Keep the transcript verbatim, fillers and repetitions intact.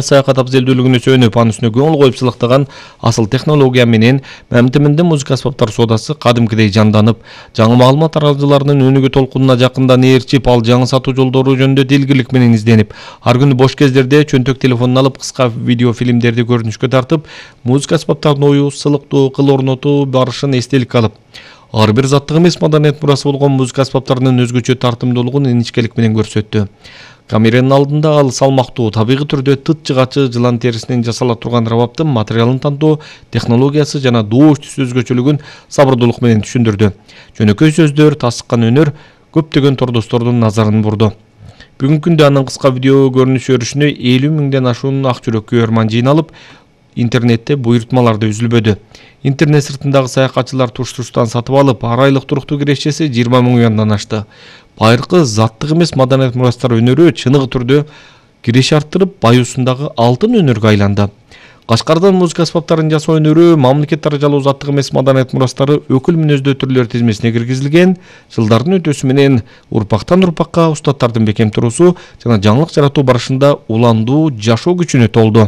Саякат абзелдүүлүгүнө сүйөнүп, анын үстүнө көңүл коюп сылыктаган асыл технология менен Мамтиминдин музыка аспаптар соодасы кадимкидей жанданып, жаңы маалымат таратууларынын өнүгүү толкунуна жакындан ээрчип, ал жаңы сатуу жолдору жөнүндө дилгирлик менен изденип, ар күнү бош кездерде чөнтөк телефонун алып кыска видео фильмдерди көрүнүшкө тартып, музыка аспаптарын оюу, сылыктоо, кыл орнотуу барышын эстеликке алып, ар бир заттык эмес маданият мурасы болгон музыка аспаптарынын өзгөчө тартымдуулугун иничкелик менен көрсөттү. Камеранын алдында ал салмактуу, табигый түрдө тыт жыгачы жылан терисинен жасала турган рабаптын материалын тандоо технологиясы жана доош түс өзгөчөлүгүн сабырдуулук менен түшүндүрдү. Жөнөкөй сөздөр, тасыккан өнөр көптөгөн тордостордун назарын бурду. Бүгүнкү күндө анын кыска видео көрүнүшү өрүшүнө элүү миңден ашуун ак жүрөк күйөрман жыйналып, интернетте буйртмаларды үзүлбөдү. Интернет сыртындагы саякатчылар туш-туштан сатып алып, ар айлык туруктуу кирешеси жыйырма миң уяндан ашты. Байыркы заттык эмес маданият мурастар өнөрү чыныгы түрдө киреш арттырып, баюусундагы алтын өнөргө айланды. Кашкардан музыка аспаптарын жасоо өнөрү мамлекет даражалуу заттык эмес маданият мурастары өкүл мүнөздүү түрлөр тизмесине киргизилген. Жылдардын өтүүсү менен урпактан урпакка устаттардын бекем туруусу жана жаңылык жаратуу барышында уландуу жашоо күчүнө толду.